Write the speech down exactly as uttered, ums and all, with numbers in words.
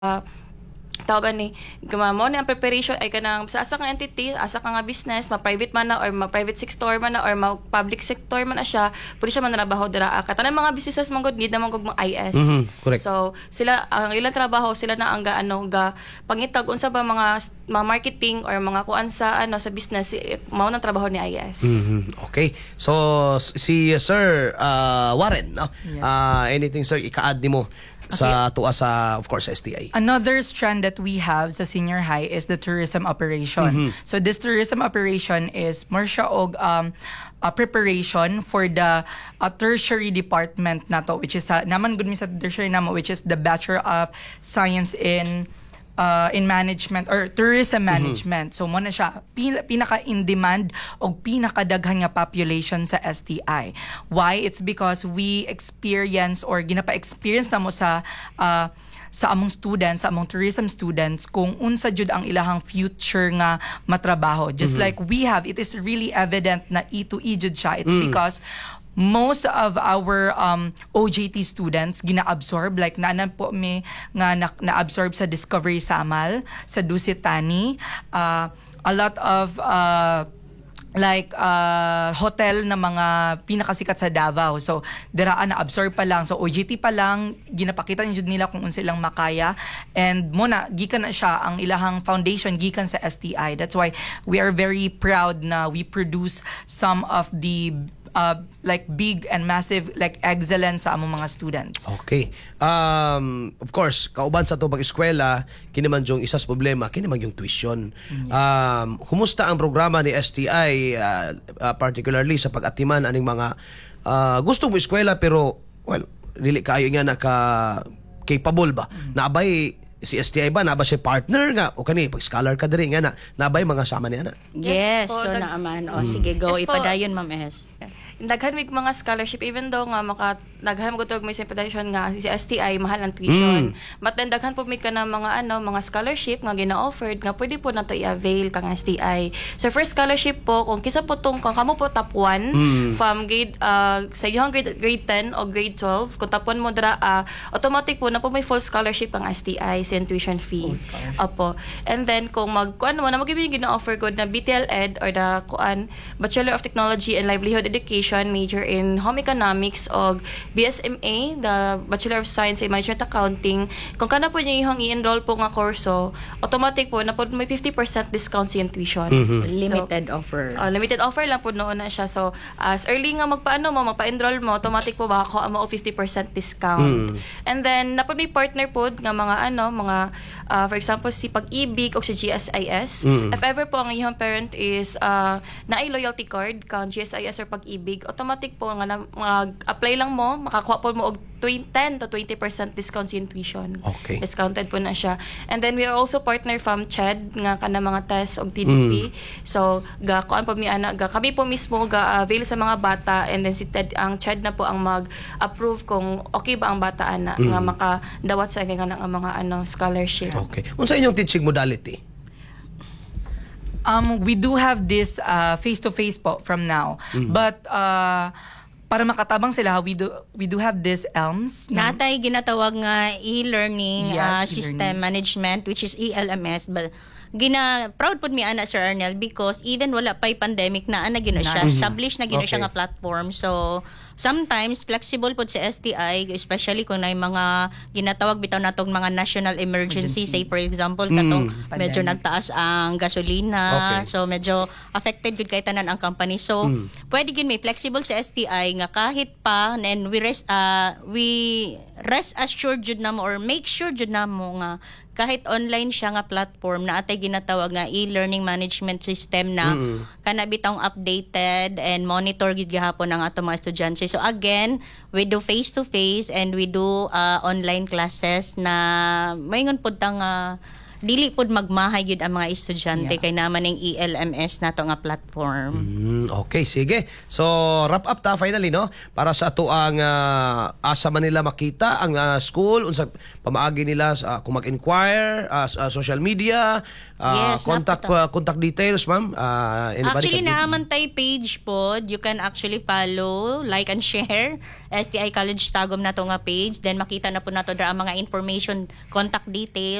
Tawagan ni mao ni ang preparation ay kanang sa asa kang entity, asa ka nga business, ma-private man na or ma-private sector man na or ma-public sector man na siya, pwede siya manrabaho dira. Katanan mga businesses man gud need naman gud mga I S. Mhm, correct. So sila ang ilang trabaho, sila na ang ga ano ga pangitag unsa ba mga mga marketing or mga kuan sa ano sa business, eh, mao nang trabaho ni I S. Mhm, Okay. So si Sir uh, Warren, no? Yes. Ah, anything, sir, ika-add nimo sa tuwa sa, of course, S T I? Another strand that we have sa senior high is the tourism operation. So this tourism operation is more siya og um, a preparation for the uh, tertiary department nato, which is sa naman gud mi sa tertiary namo, which is the Bachelor of Science in uh, in management or tourism management. So mo na siya pin- pinaka in demand og pinakadaghan nga population sa S T I. Why? It's because we experience or ginapa-experience namo sa uh, sa among students, sa among tourism students, kung unsa jud ang ilahang future nga matrabaho. Just like we have, it is really evident na E to E jud siya. It's because most of our um, O J T students gina-absorb, like naanan po mi nga na, na-absorb sa Discovery Samal, sa Dusit Thani, uh, a lot of uh, like uh, hotel na mga pinakasikat sa Davao. So, diraan na absorb pa lang. So, O J T pa lang, ginapakita niyo nila kung unsa ilang makaya. And mo na, gikan na siya, ang ilahang foundation gikan sa S T I. That's why we are very proud na we produce some of the uh, like big and massive like excellence sa among mga students. Okay. Um, of course, kauban sa atong pag-eskwela, kini man yung isa sa problema, kini man yung tuition. Um, kumusta ang programa ni S T I uh, uh, particularly sa pag-atiman aning mga uh, gusto mo eskwela pero, well, dili kaayo nga naka capable ba? Naabay si S T I ba, naa ba siya partner nga o kani pag scholar ka diri nga na naabay mga sama ni ana? Yes, Yes po, so dag- naaman. O, sige, go. Yes po. Ipadayon, Ma'am S. Daghan mig mga scholarship even though nga maka daghan mo gud may separation nga si S T I mahal ang tuition. But then daghan po mi ka na mga ano mga scholarship nga gina-offered nga pwede po nato i-avail kang S T I. So first scholarship po, kung kisa po tong kung kamo po top one from grade uh, sa iyong grade grade ten o grade twelve, kung top one mo dira, uh, automatic po na po may full scholarship ang S T I sa tuition fee. Opo. And then kung mag kuan mo na mag gina-offer gud na B T L Ed or the kuan Bachelor of Technology and Livelihood Education major in Home Economics o B S M A, the Bachelor of Science in Management Accounting, kung kana po niyo yung i-enroll po nga kurso, automatic po na po may fifty percent discount sa iyong tuition. Limited offer. Uh, limited offer lang po noon na siya. So, as early nga magpaano mo, magpa-enroll mo, automatic po baka mo fifty percent discount. And then, napod may partner po nga mga ano, mga, uh, for example, si Pag-ibig o si G S I S. If ever po ang iyong parent is uh, naay loyalty card kang G S I S or Pag-ibig, automatic po nga na, mag-apply lang mo, makakuha po mo og twenty ten to twenty percent discount sa iyong tuition. Okay. Discounted po na siya. And then we are also partner from CHED nga kana mga test og T D P. So ga kuan po mi ana, ga kami po mismo ga avail sa mga bata and then si Ted, ang CHED na po ang mag-approve kung okay ba ang bata ana nga makadawat sa nga nga mga ano scholarship. Okay. Unsa inyong teaching modality? Um, we do have this uh, face-to-face po from now. But uh, para makatabang sila, we do we do have this ELMS. na- Natay ginatawag nga e-learning Yes, uh, system e-learning. management, which is E L M S, but gina proud pud mi ana, Sir Arnel, because even wala pa'y pandemic na ana gina siya, established na gina siya Okay. nga platform. So sometimes flexible pud sa S T I, especially kung naay mga ginatawag bitaw natong mga national emergency, say for example katong medyo Pandemic. Nagtaas ang gasolina, Okay. so medyo affected gud kay tanan ang company. So pwede gid may flexible sa S T I nga kahit pa, and we rest uh, we rest assured jud namo or make sure jud namo nga kahit online siya nga platform, na atay ginatawag nga e-learning management system na kana bitawng updated and monitor gid gihapon ang ato mga estudyante. So again, we do face to face and we do uh, online classes na maingon pud ta nga dili pud magmahay gyud ang mga estudyante Yeah. kay naman ning E L M S nato nga platform. Mm, okay, sige. So, wrap up ta finally, no? Para sa ato ang ah, asa man nila makita ang ah, school, unsa pamaagi nila sa kung mag-inquire, ah, sa social media, ah, Yes, contact napunta. ah, contact details, ma'am. Ah, anybody Actually, can give- naa man tay page pod. You can actually follow, like and share S T I College Tagum na to nga page. Then makita na po nato dira ang mga information, contact details.